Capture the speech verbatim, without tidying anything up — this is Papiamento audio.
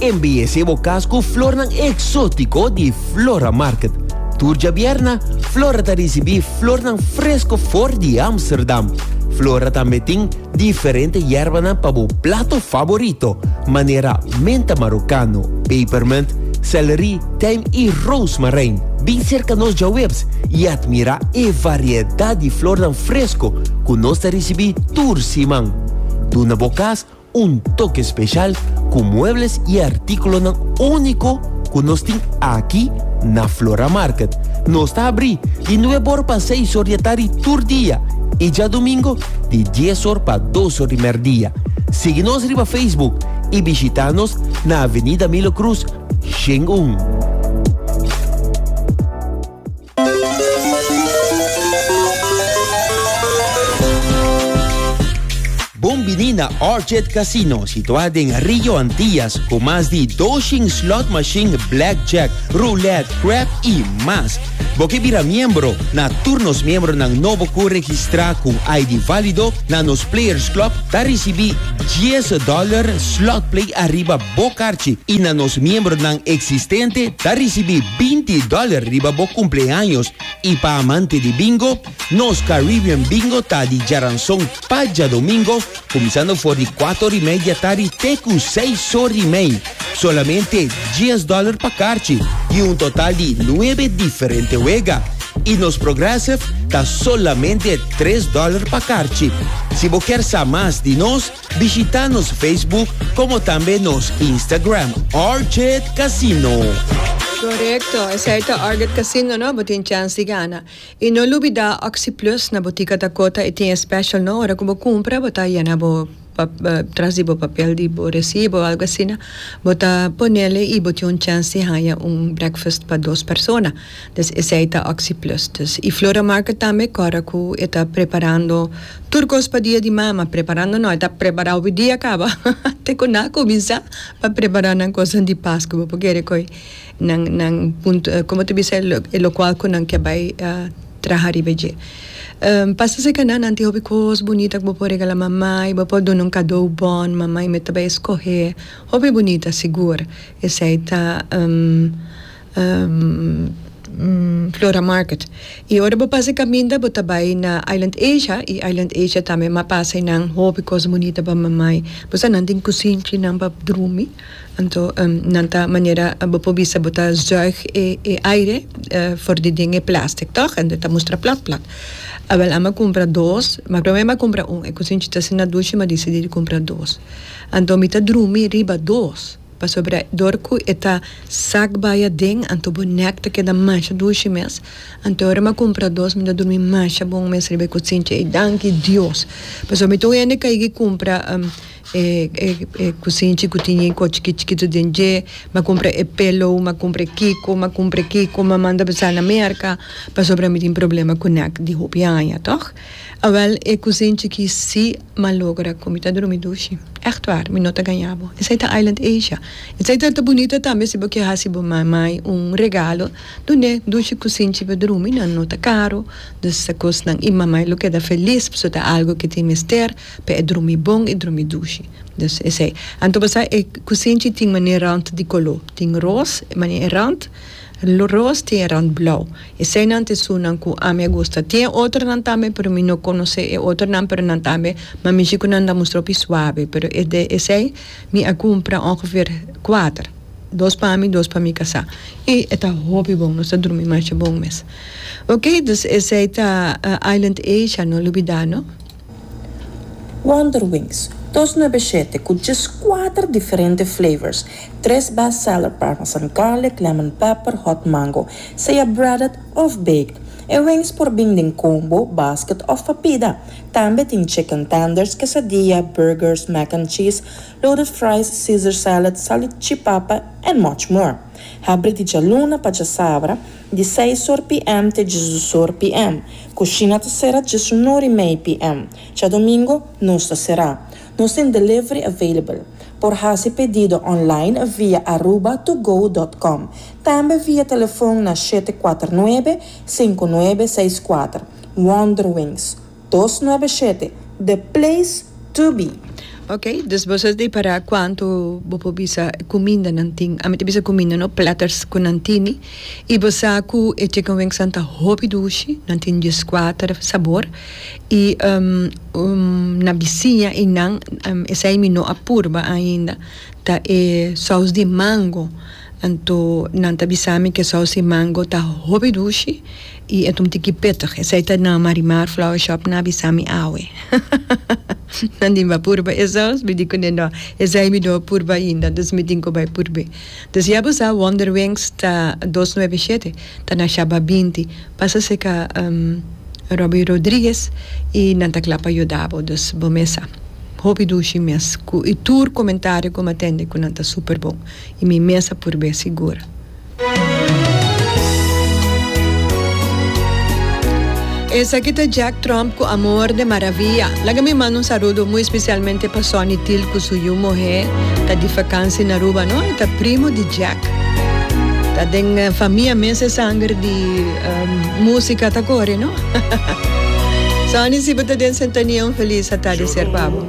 Embeyece bo cas cu flornan exotico di Flora Market. Tur diabierna, Flora ta ricibi flornan fresco for di Amsterdam. Flora tambe tin diferente yerbanan pa bo plato favorito, manera menta marocano, pepermint, celery, tijm y rozemarijn. Bin cerca nos diahuebs y admira e variedad di flornan fresco cu nos ta ricibi tur siman. Duna bo cas un toke special cu muebles y articulonan unico cu nos tin aki na Flora Market. Nos ta habri di nuebe or pa seis or di atardi tur dia y diadomingo di dies or pa dos or di merdia. Sigui nos riba Facebook y bishita nos na Avenida Milo Cruz, Shen un. Bon bini na Orchid Casino, situa den Rio Antillas, cu mas di doscientos slot machine, blackjack, roulette, crap y mas. Bo kier bira miembro? Na tur nos miembronan nobo cu registra cu I D valido na nos Players Club, ta ricibi dies dollar slot play ariba bo carchi y na nos miembronan existente ta ricibi binti dollar riba bo cumpleaños. Y pa amante di bingo, nos Caribbean Bingo ta di diaranson pa diadomingo, cuminsando for di cuater y mei di atardi te cu seis or y mei. Solamente dies dollar pa carchi y un total di nuebe diferente wega. Y nos Progressive ta solamente tres dollar pa carchi. Si bo kier sa mas di nos, bishita nos Facebook como tambe nos Instagram, Orchid Casino. Correcto, esey ta Orchid Casino, no? Bo tin chance di gana. Y no lubida Oxy Plus na Botica Dakota y tin special, no? Ora cu bo cumpra, bo ta yena bo pa, uh, tras di bo papel di bo recibo, algo asina, bo ta ponele y bo tin un chance di haya un breakfast pa dos persona. Dus esey ta Oxy Plus. Dus, y Flora Market tambe, awor cu ta preparando tur cos pa dia di mama, preparando no, ta prepara e dia caba. Te cu nan a cuminsa pa prepara nan cos di Pasco, pasobra coi nan nan punto, con ta bisa, e locual cu nan kier bay uh, traha riba dje. Um, pasa serca nan, nan tin hopi cos bunita cu bo por regala mama, bo por duna un cadeau bon, mama mes tambe scoge. Hopi bunita, sigur. Esey ta um, um, um, Flora Market. Y ora bo pasa caminda, bo ta bay na Island Asia, y Island Asia tambe m'a pasa nan hopi cos bunita pa mama. Bo nan tin cusinchinan pa drumi. Anto um, nan ta manera bo por bisa bo ta zuig e, e aire uh, for di dingen plastic, toch? En dat mustra plat plat. Awel, ami a cumpra dos, ma prome mi a cumpra un. E cusinchi ta asina dushi, m'a dicidi di cumpra dos. Anto mi ta drumi riba dos. Pasobra dor cu e ta zak bay aden, anto bo nek ta keda masha dushi mes. Anto ora mi a cumpra dos, mi ta drumi masha bon mes riba e cusinchi. E danki Dios. Pasobra mi ta hende cu cumpra um, e, e, e cusinchi cu tin cos chikito chikito den dje, m'a cumpra e pillow, m'a cumpra kiko, m'a cumpra kiko, m'a manda bisa na Merca, pasobra mi tin problema cu nek di hopi aña, toch? Awel, e cusinchi cu si m'a logra cu mi ta drumi dushi. Echt waar, mi no ta gaña bo. Esey ta Island Asia. Esey ta bunita tambe si bo kier hasi bo mama un regalo. Dun'e dushi cusinchi pa drumi, nan no ta caro. Dus e cosnan y mama lo keda feliz, so ta algo cu tin mester, pa e drumi bon y drumi dushi. Dus esey. Anto basta e cusinchi tin manera rand di color. Tin roos, manera rand roos, tin rand blauw. Eseynan ta esunnan cu ami a gusta. Tin otronan tambe, pero mi no conoce e otronan, pero nan tambe, ma mi cu nan ta mustra suave, pero e de esey mi a cumpra ongeveer cuater. Dos pa mi, dos pa mi casa. Y ta hopi bon, nos ta drumi masha bon mes. Ok, dus esey ta uh, Island Asia, no lubida, no? Wonder Wings, dos nuebe shete cu just cuater diferente flavors. Tres bestseller: parmesan garlic, lemon pepper, hot mango. Sea breaded of baked. E wings por bin den combo, basket of pa pida. Tambe tin chicken tenders, quesadilla, burgers, mac and cheese, loaded fries, Caesar salad, salchipapa and much more. Habri di dialuna pa diasabra, di seis or P M te diesdos or P M. Cushina ta sera diesun or y mei P M. Diadomingo no ta sera. Nos tin delivery available. Por haci pedido online via aruba to go punto com. Tambe via telefon na shete cuater nuebe, cinco nuebe seis cuater. Wonder Wings, dos nuebe shete, the place to be. Ok, dus bo a ripara cuanto bo por bisa cuminda nan tin, ami ta bisa cuminda no, platters cu nan tin, y bo sa cu e chicken wings ta hopi dushi, nan tin kuater sabor, y um, um, na bisiña y nan um, esey mi no a purba ainda, ta e saus di mango. Anto nan ta bisami cu saus di mango ta hopi dushi y e un tiki pittig. Esey ta na Marimar Flower Shop nan a bisami awe. Nan di b'a purba e saus, mi di cu no, esey mi no a purba ainda, dus mi tin cu bay purba. Dus ya bo sa, Wonder Wings ta dos nuebe shete, ta na Shaba binti. Pasa serca um, Robbie Rodriguez y nan ta cla pa yudabo, dus bo mes sa. Hopi dushi mes. Cu, y tur comentario cu m'a tende cu nan ta super bon. Y mi mes a purba sigur. Esaki ta Jack Trump cu Amor de Maravilla. Laga mi manda un saludo muy especialmente pa Sonny Til cu su yiu muhe ta di vakantie na Aruba, no? Ta primo di Jack. Ta den eh, famia mes e sanger di um, musica ta core, no? Sonny, si bo ta den sintonia, un feliz atardi pa bo.